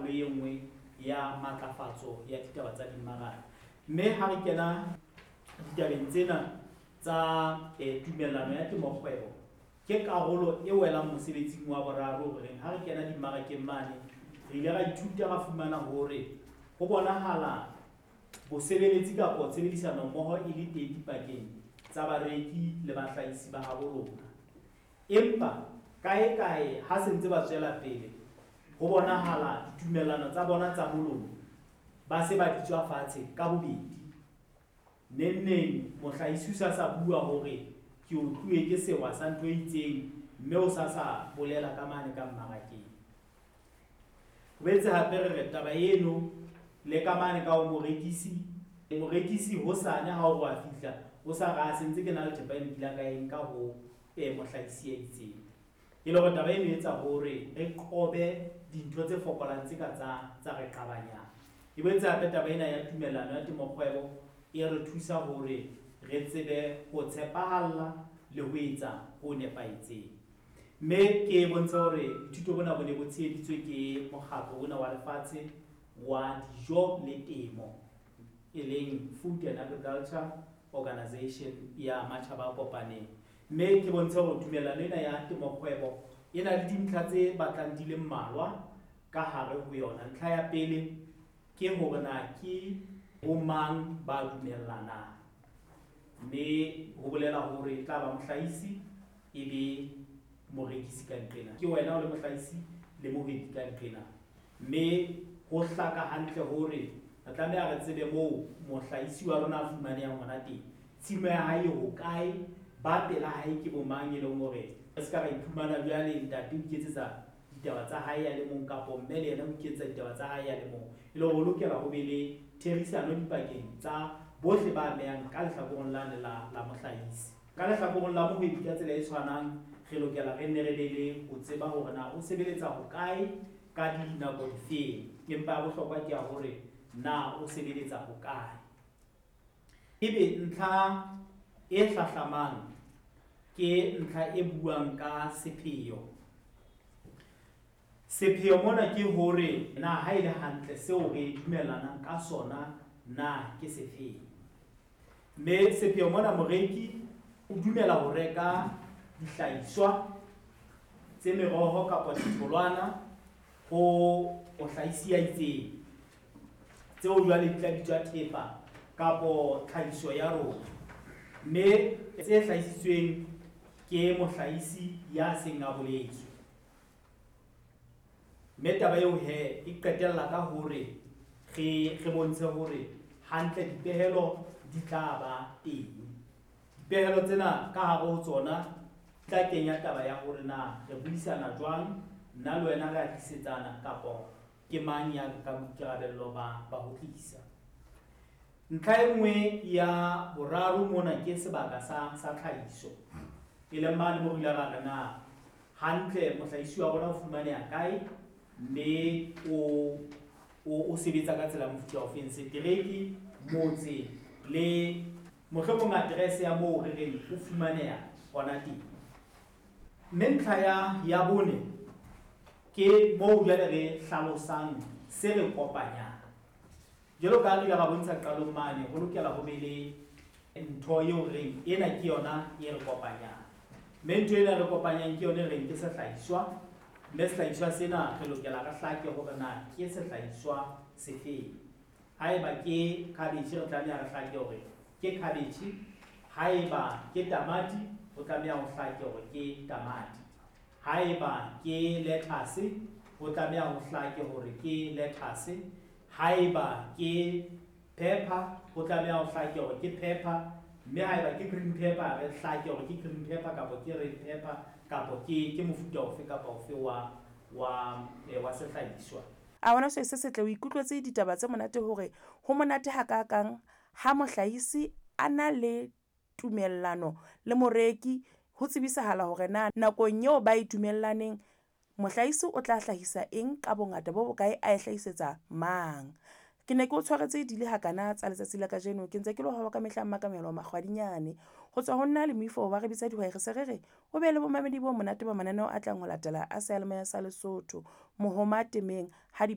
karolo e nngwe ya matlafatso ya ditaba tsa dimmaraka. Mme ha re kena ditabeng tsena tsa tumellano ya temokgwebo, ke karolo e welang mosebetsing wa boraro hore ha re kena dimmarakeng mane, re ile ra ithuta ra fumana hore ho bonahala bosebeletsi kapa tshebedisano mmoho e le teng dipakeng tsa bareki le bahlahisi ba habo rona. Empa kae-kae ha se ntse ba tswela pele, ho bonahala ditumellano tsa bona tsa molomo ba se ba di tswa fatshe ka bobedi. Neng-neng mohlahisi o sa sa bua hore ke otluwe ke sewa sa ntho e itseng, mme o sa sa bolela ka mane ka mmarakeng. Ho boetse hape re re taba eno le ka mane ka ho morekisi, morekisi hosane ha o re wa fihla, o sa re a sentse ke na le thepa eno ke ile ka e nka ho mohlahisi ya itseng. E le hore taba eno e etsa hore re qobe dintho tse fokolang tse ka tsa re qabanyang. E boetse hape taba ena ya tumellano ya temokgwebo e re thusa hore re tsebe ho tshepahalla le ho etsa ho nepahetseng. Mme ke bontshe hore boithuto bona bo ne bo tsheheditswe ke mokgatlo ona wa lefatshe wa dijo le temo, e leng Food and Agriculture Organization ya Matjhaba a Kopaneng. Mme ke bontshe hore tumellano ena ya temokgwebo e na le dintlha tse batlang di le mmalwa ka hare ho yona. Ntlha ya pele ke hore na ke bomang ba dumellanang, mme ho bolela hore e tla ba mohlahisi e be morekisi ka nqena. Ke wena o le mohlahisi le mohwebi ka nqena. Mme ho hlaka hantle hore re tlameha re tsebe moo mohlahisi wa rona a fumanehang hona teng. Tshimo ya hae e hokae, ba pela hae ke bo mang, e leng hore re ska ra iphumana jwale ntate o iketsetsa ditaba tsa hae a le mong, kapo mme le yena o iketsetsa ditaba tsa hae a le mong. E le hore ho lokela ho be le therisano dipakeng tsa bohle ba amehang ka lehlakoreng lane la mohlahisi. Ka lehlakoreng la mohwebi ka tsela e tshwanang, re lokela re nne re be le ho tseba hore na o sebeletsa hokae ka dinako difeng. Empa ya bohlokwa ke ya hore na o sebeletsa hokae. Ebe ntlha e hlahlamang ke ntlha e buang ka sepheo. Sepheo mona ke hore na ha e le hantle seo re dumellanang ka sona na ke sefeng. Mme sepheo mona moreki o dumela ho reka dihlahiswa tse meroho kapa ditholwana ho mohlahisi ya itseng, tseo jwale di tla bitswa thepa kapo tlhahiso ya rona, mme tse hlahisitsweng ke mohlahisi ya seng a boletswe. Mme taba eo he e qetella ka hore re bontshe hore hantle dipehelo di tla ba teng. Dipehelo tsena ka hare ho tsona di tla kenya taba ya hore na re buisana jwang, nna le wena re a tlisetsana kapo ke mang ya nkang boikarabello ba ho tlisa. Ntlha e nngwe ya boraro mona ke sebaka sa tlhahiso, e leng mane moo re ile ra re na hantle mohlahisi wa rona o fumaneha kae, mme o sebetsa ka tsela ya mofuta ofeng, setereke, motse le mohlomong address ya moo re reng o fumaneha hona teng. Mme ntlha ya bone ke moo jwale re hlalosang se re kopanyang. Jwalo ka ha re ile ra bontsha qalong mane, ho lokela ho be le ntho eo re reng ena ke yona e re kopanyang. Mme ntho ena e re kopanyang ke yona e reng ke sehlahiswa, mme sehlahiswa sena re lokela re hlake hore na ke sehlahiswa sefeng. Haeba ke cabbage, re tlameha re hlake hore ke cabbage. Haeba ke tamati, ho tlameha ho hlake hore ke tamati. Haeba ke lettuce, ho tlameha ho hlake hore ke lettuce. Haeba ke pepper, ho tlameha ho hlake hore ke pepper. Mme haeba ke green pepper, re hlake hore ke green pepper kapa ke red pepper kapa ke mofuta ofe kapa ofe wa sehlahiswa. A bona se se setle, o ikutlwetse ditaba tse monate hore ho monate hakakang ha mohlahisi a na le tumellano le moreki, ho tsebisahala hore na nakong eo ba e dumellaneng mohlahisi o tla hlahisa eng ka bongata bo bokae, a e hlahisetsa mang. Ke ne ke o tshwaretse di le hakana tsa letsatsi la kajeno, ke ntse ke le wa ka mehla Mmakamelo Makgwadinyane. Ho tswa ho nna le moifo wa re bitsa dihwai, re se re re o be le bomamedi bo monate ba mananeo a tlang ho latela a seyalemoya sa Lesotho. Mohoma temeng ha di.